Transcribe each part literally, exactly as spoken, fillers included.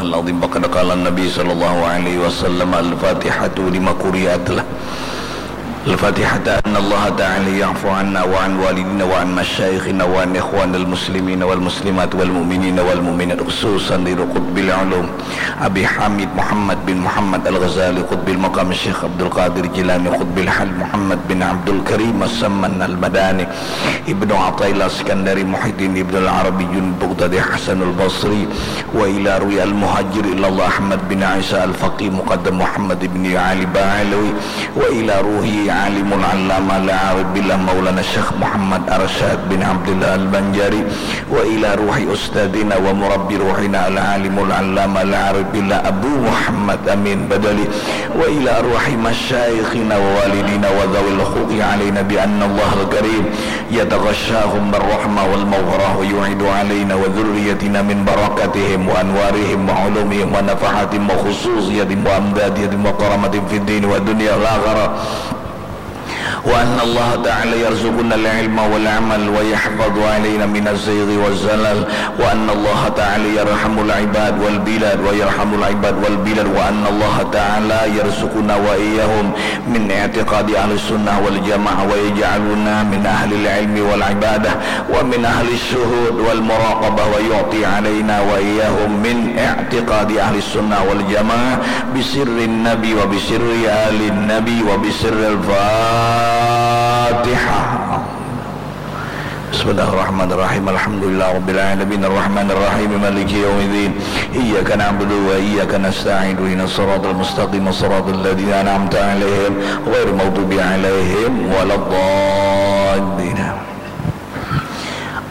العظيم. فقد قال النبي صلى الله عليه وسلم: الفاتحة لما قرئت له. الفاتحة أن الله تعالى يعفو عنا وعن والدينا وعن مشايخنا وعن إخوان المسلمين والمسلمات والمؤمنين والمؤمنات، خصوصا لقطب العلوم أبي حامد محمد بن محمد الغزالي قطب المقام الشيخ عبد القادر الجيلاني قطب الحال محمد بن عبد الكريم السمن المداني ابن عطاء الله السكندري محي الدين ابن العربي جنيد بغدادي حسن البصري وإلى روح المهاجر إلى الله أحمد بن عيسى الفقيه مقدم محمد بن علي بعلوي وإلى روح عالم العلامة العارف بالله مولانا الشيخ محمد أرشاد بن عبد الله البنجاري وإلى روح أستاذنا ومربي روحنا العالم العلامة العارف بالله أبو محمد أمين بدلي وإلى روح مشايخنا ووالدينا وذوي الحقوق علينا بأن الله الكريم يتغشاهم بالرحمة والمغفرة ويعيد علينا وذريتنا من بركاتهم وأنوارهم وعلومهم ونفحاتهم وخصوصياتهم وأمداداتهم وكراماتهم في الدين والدنيا والآخرة. وأن الله تعالى يرزقنا العلم والعمل ويحفظ علينا من الزيغ والزلل، وأن الله تعالى يرحم العباد والبلاد ويرحم العباد والبلاد، وأن الله تعالى يرزقنا وإياهم من اعتقاد أهل السنة والجماعة، ويجعلنا من أهل العلم والعبادة، ومن أهل الشهود والمراقبة، ويعطي علينا وإياهم من اعتقاد أهل السنة والجماعة بسر النبي وبسر آل النبي وبسر الفاتحة. بسم الله الرحمن الرحيم. الحمد لله رب العالمين. الرحمن الرحيم. مالك يوم الدين. إياك نعبد وإياك نستعين. اهدنا الصراط المستقيم. صراط الذين أنعمت عليهم غير المغضوب عليهم ولا الضالين.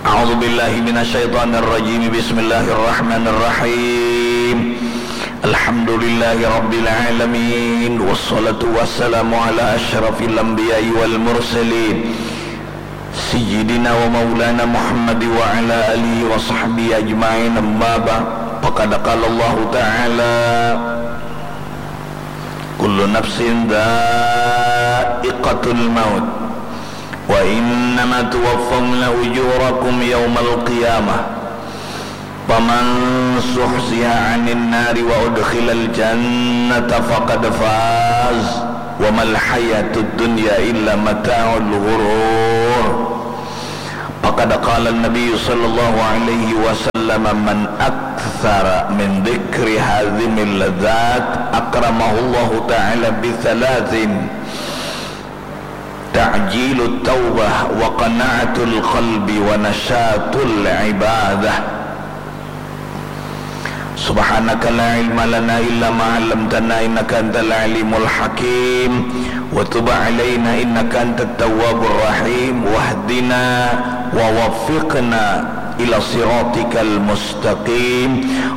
أعوذ بالله من الشيطان الرجيم. بسم الله الرحمن الرحيم. الحمد لله رب العالمين. والصلاة والسلام على أشرف الأنبياء والمرسلين. سيدنا ومولانا محمد وعلى آله وصحبه أجمعين. أما بعد. فقد قال الله تعالى: كل نفس ذائقة الموت وإنما توفون أجوركم يوم القيامة فمن زحزح عن النار وأدخل الجنة فقد فاز وما الحياة الدنيا إلا متاع الغرور. فقد قال النبي صلى الله عليه وسلم: من أكثر من ذكر هذه اللذات أكرمه الله تعالى بثلاث: تعجيل التوبة وقناعة القلب ونشاط العبادة. سبحانك لا علم لنا إلا ما علمتنا إنك أنت العليم الحكيم وتب علينا إنك أنت التواب الرحيم واهدنا ووفقنا إلى صراطك المستقيم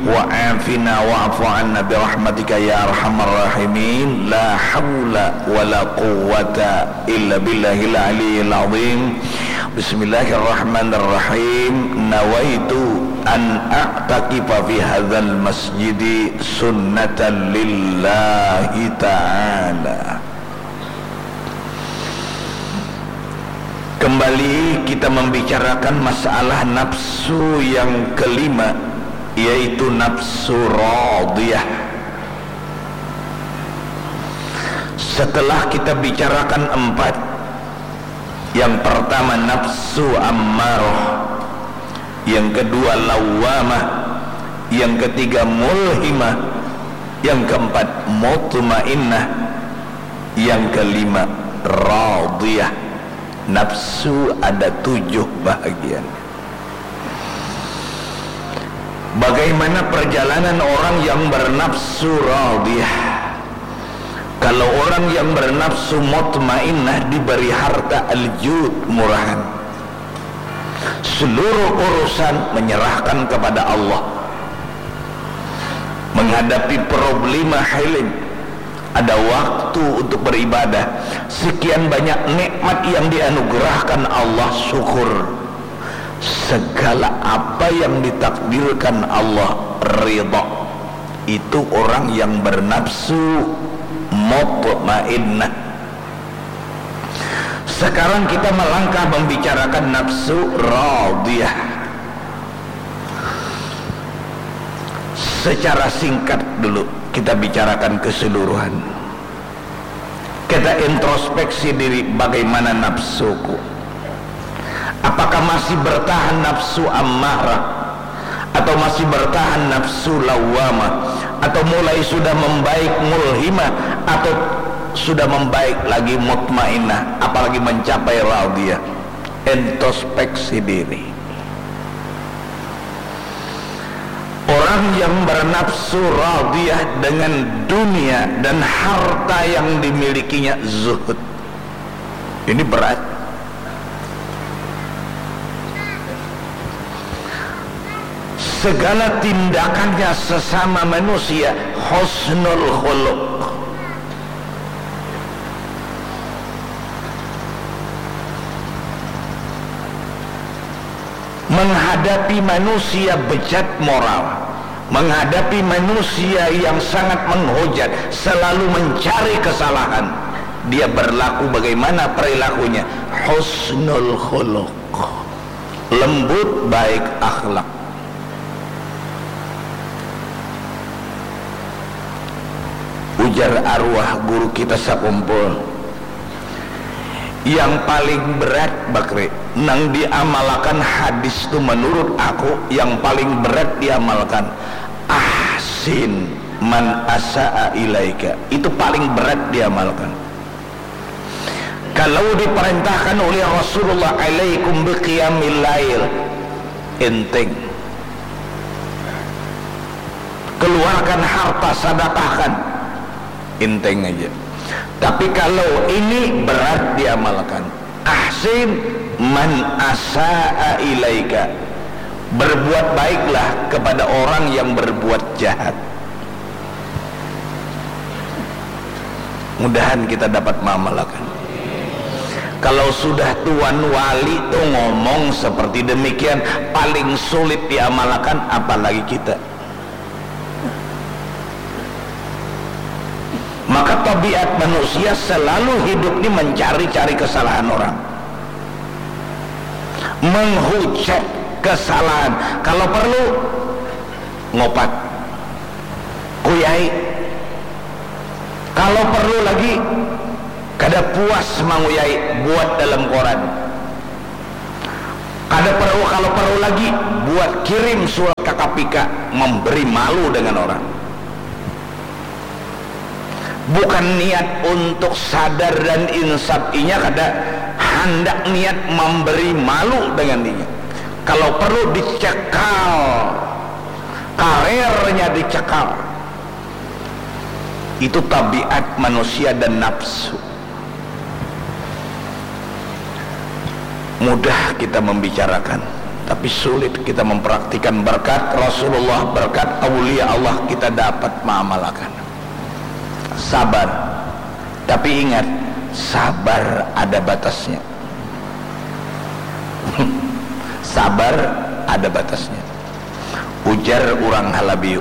وعافنا واعف عنا برحمتك يا أرحم الراحمين لا حول ولا قوة إلا بالله العلي العظيم. بسم الله الرحمن الرحيم. نويت أن أعتكف في هذا المسجد سنة لله تعالى. Kembali kita membicarakan masalah nafsu yang kelima, yaitu nafsu radiyah. Setelah kita bicarakan empat, yang pertama nafsu ammarah, yang kedua lawwamah, yang ketiga mulhimah, yang keempat mutmainnah, yang kelima radiyah. Nafsu ada tujuh bahagian. Bagaimana perjalanan orang yang bernafsu radiyah? Kalau orang yang bernafsu mutmainnah diberi harta aljud murahan, seluruh urusan menyerahkan kepada Allah, menghadapi problema hilim, ada waktu untuk beribadah, sekian banyak nikmat yang dianugerahkan Allah, syukur. Segala apa yang ditakdirkan Allah, ridha. Itu orang yang bernafsu mutmainnah. Sekarang kita melangkah membicarakan nafsu radiyah. Secara singkat dulu kita bicarakan keseluruhan. Kita introspeksi diri, bagaimana nafsuku? Apakah masih bertahan nafsu ammarah? Atau masih bertahan nafsu lawwamah? Atau mulai sudah membaik mulhimah? Atau sudah membaik lagi mutmainnah? Apalagi mencapai radiyah? Introspeksi diri. Orang yang bernafsu radiyah dengan dunia dan harta yang dimilikinya, zuhud. Ini berat. Segala tindakannya sesama manusia, husnul khuluq. Menghadapi manusia bejat moral, menghadapi manusia yang sangat menghujat, selalu mencari kesalahan, dia berlaku bagaimana perilakunya? Husnul khuluq, lembut, baik akhlak. Ujar arwah guru kita sakumpul, yang paling berat, Bakri, nang diamalakan hadis tu, menurut aku, yang paling berat diamalkan, "Ahsin man asa'a ilaika." Itu paling berat diamalkan. Kalau diperintahkan oleh Rasulullah, "Alaikum biqiyamil lail," enteng. "Keluarkan harta, sadakahkan," enteng aja. Tapi kalau ini berat diamalkan. "Ahsin man asa'a ilaika." Berbuat baiklah kepada orang yang berbuat jahat. Mudahan kita dapat maamalakan. Kalau sudah tuan wali tu ngomong seperti demikian, paling sulit diamalakan, apalagi kita. Maka tabiat manusia selalu hidup ni mencari-cari kesalahan orang, menghujat kesalahan. Kalau perlu, ngopat, kuyai. Kalau perlu lagi, kada puas manguyai, buat dalam koran. Kada perlu, kalau perlu lagi, buat kirim surat ka K P K, memberi malu dengan orang. Bukan niat untuk sadar dan insaf inya kada, handak niat memberi malu dengan inya. Kalau perlu dicekal, karernya dicekal. Itu tabiat manusia dan nafsu. Mudah kita membicarakan, tapi sulit kita mempraktikan. Berkat Rasulullah, berkat aulia Allah, kita dapat maamalakan. Sabar. Tapi ingat, sabar ada batasnya. Sabar ada batasnya. Ujar urang Halabiu,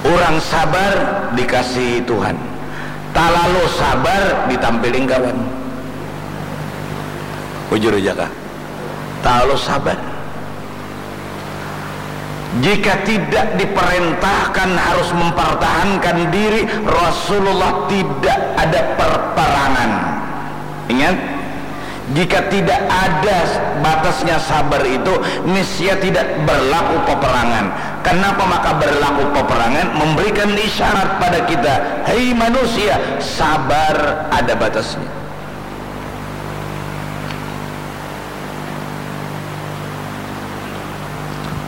urang sabar dikasihi Tuhan, talalu sabar ditampiling kawan. Bujur aja kah? Talalu sabar. Jika tidak diperintahkan harus mempertahankan diri, Rasulullah tidak ada perperangan. Ingat, jika tidak ada batasnya sabar itu, niscaya tidak berlaku peperangan. Kenapa maka berlaku peperangan? Memberikan isyarat pada kita, "Hei manusia, sabar ada batasnya."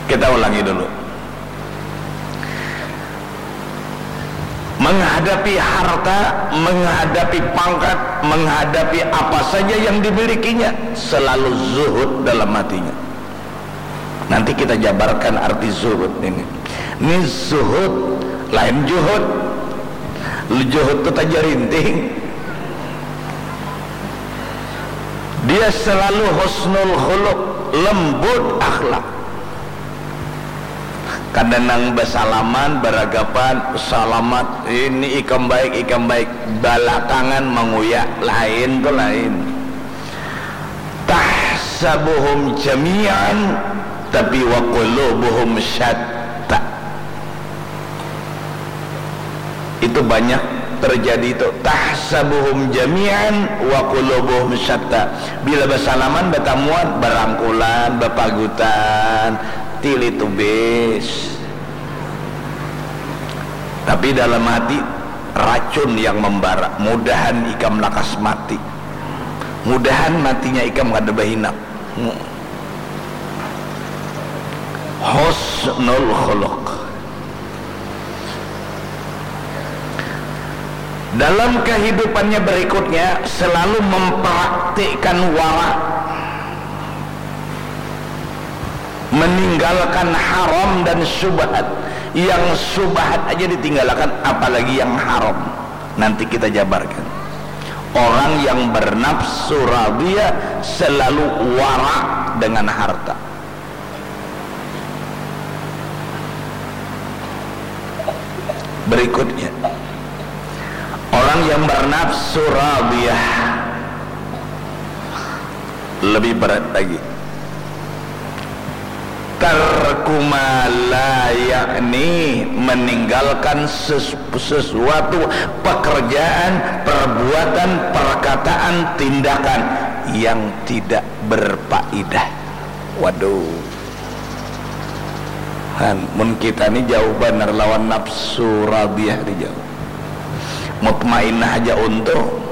Kita ulangi dulu. Menghadapi harta, menghadapi pangkat, menghadapi apa saja yang dimilikinya, selalu zuhud dalam hatinya. Nanti kita jabarkan arti zuhud ini. Ini zuhud, lain juhud. Juhud tu tajarinting. Dia selalu husnul khuluq, lembut akhlak. Kada nang basalaman, baragapan, salamat, ini ikam baik, ikam baik, balakangan manguya, lain tu lain. Tahsabuhum jami'an tapi wa qulubuhum syatta. Itu banyak terjadi itu, tahsabuhum jami'an wa qulubuhum syatta. Bila bersalaman, bertamuan, berangkulan, berpagutan, tilitubis. Tapi dalam hati racun yang membara. Mudahan ikam lakas mati. Mudahan matinya ikam kada bahinak. Husnul khuluq. Dalam kehidupannya berikutnya selalu mempraktikkan wara, meninggalkan haram dan syubhat. Yang syubhat aja ditinggalkan, apalagi yang haram. Nanti kita jabarkan. Orang yang bernafsu radiyah selalu wara dengan harta. Berikutnya, orang yang bernafsu radiyah lebih berat lagi. Tarku ma la ya'ni, meninggalkan ses- sesuatu, pekerjaan, perbuatan, perkataan, tindakan yang tidak berfaedah. Waduh. Han, mun kita ni jauh banar lawan nafsu radiyah ni, jauh. Mutmainnah aja untung,